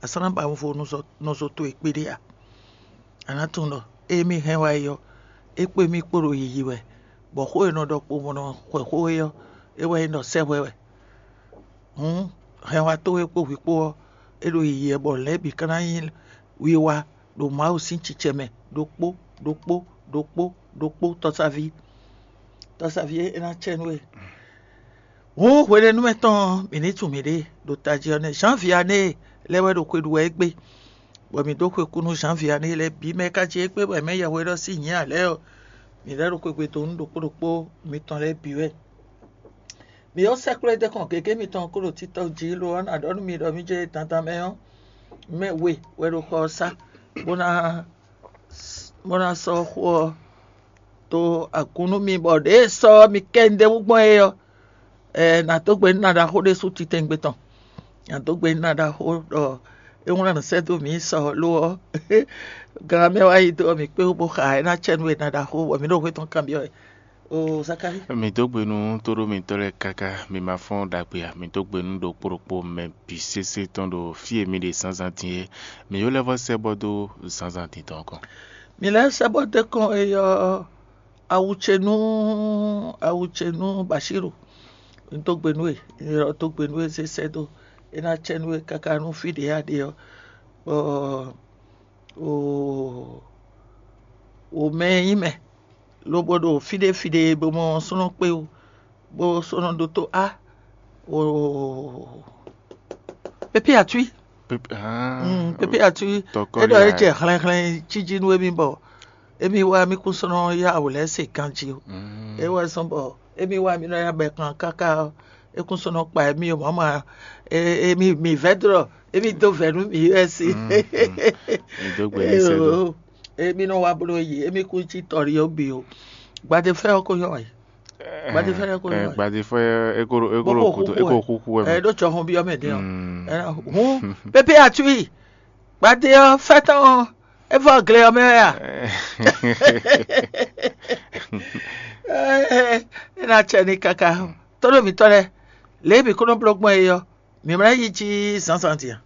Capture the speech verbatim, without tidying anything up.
a sɔ́ ná ba wunvo nɔzo towe kpéɖé a? A nǎ tunwun ɖɔ ée mì hɛn wá é ɔ́, é kpé mì kpo ɖo yiyi wɛ, bɔ xó e nɔ ɖɔ kpo bó nɔ xwɛ xó é ɔ́, é wɛ nyí ɖɔ sɛ́ hwɛ wɛ. Hǔn hɛnwa towe kpó hwi kpó ɔ́, é ɖo yiyi wɛ bɔ lɛ̌ bǐ ka ná nyí wiwa ɖo Mawu sín cicɛ mɛ ɖokpó ɖokpó ɖokpó ɖokpó tɔ́sáví. Tɔ́sáví é ná cɛ nú we. Hǔn hwenɛ́nu mɛ tɔn ɔ́, mǐ ní tunwun mǐɖée ɖo tají ɔ́ nɛ́. Zǎnviané lɛ́ɛ wɛ ɖo xwe ɖu wɛ égbé, bɔ mǐ dó xwe kú nú Zǎnviané lɛ́ɛ bǐ mɛ ka jí égbé bɔ è mɛ yɛhweɖɔ sín nyǐ ǎ lɛ́ɛ ɔ́, mǐ lɛ́ ɖo xwegbe donu ɖokpó ɖokpó mitɔn lɛ́ɛ bǐ wɛ. Mǐ ɔ́ sɛ́ kplé dɛ́ kɔn gěgé mitɔn kó ɖo títɔ́ jí lo ɔ́, nǎ ɖɔ nú mi ɖɔ mǐ jɛ dandan mɛ ɔ́, mɛ we wɛ ɖo xɔ ɔ́ sá, bó ná bó ná sɔ́ xó ɔ́ dó agun nú mi, bɔ ɖěe sɔ́ mi kɛ un ɖ'é wú gbɔn é ɔ́, ɛ nǎ dó gbe nú ná ɖaxó ɖésú titɛngbe tɔn. Nǎ dó gbe nú ná ɖaxó ɖɔ é wlán nǔ sɛ́ dó mǐ sɔ lo ɔ́, gan mɛ wá yi dó ɔ́, mǐ kpé wú bó xa é ná cɛ nú we ná ɖaxó, bɔ mǐ ɖo xwé tɔn kanbyɔ́ wɛ. O Zakalíi. Mǐ dó gbe nú tóɖómitɔ́ lɛ́ɛ káká, mi ma fɔ́n ɖagbe ǎ. Mǐ dó gbe nú ɖokpó ɖokpó mɛ bǐ sésé tɔn ɖo fí e mi ɖe zǎnzǎn din é. Mǐ yó lɛ́ vɔ́ sɛ́ bɔ dó zǎnzǎn din tɔn kɔn. Mi lɛ́ sɛ́ bɔ dó kɔn é ɔ́, awu ce nú awu ce nú Bashíru. Un dó gbe nú we, un ylɔ́ dó gbe nú we zé sɛ́ dó. É ná cɛ nú we káká nú fí ɖě a ɖe ɔ́, bɔ o o mɛ e nyí mɛ, lobo ɖo fí ɖé fí ɖé bó mɔ súnɔ kpé wú, bó súnɔ ɖótó á o pépé atwí. Pépé atwí. É ɖɔ é jɛ hlɛnhlɛn jíjí nú émí bɔ émí wá mí kún sɔ́ nɔ yá wǔ lɛ́ɛ se ganjí o. É wɛ zɔ́n bɔ émí wá mí nɔ yá bɛ kan káká ɔ́, é kún sɔ́ nɔ kpa émí o mɔ̌ ma émí mǐ vɛ́ dó ɖɔ émí dó vɛ̌ nú mǐ wɛ sí. Mǐ dó gbe ní sɛ́ dó. Émí nɔ wá bló yi, émí kún cí tɔ́ ɖi ɔ́ bǐ o. Gbadefɛ́ ɔ́ ko nyɔ́ wɛ. Gbadefɛ́ ɔ́ ko nyɔ́ wɛ. Gbadefɛ́ é ko é ko Bó kó kúkú é ko wɛ. Kúkú wɛ. Ɛ ɖó jɔhɔn byɔ́ mɛ din ɔ́. Hǔn pépé atwí gbadé ɔ́ fɛ́tɔ́n ɔ́ é vɔ gle ɔ́ mɛ wɛ a? É ná cɛ ní káká. Tóɖó mǐtɔn lɛ́ɛ, lě e mǐ kó nɔ bló gbɔn é ɔ́, mǐ ma ná yi jí zǎnzǎn din a?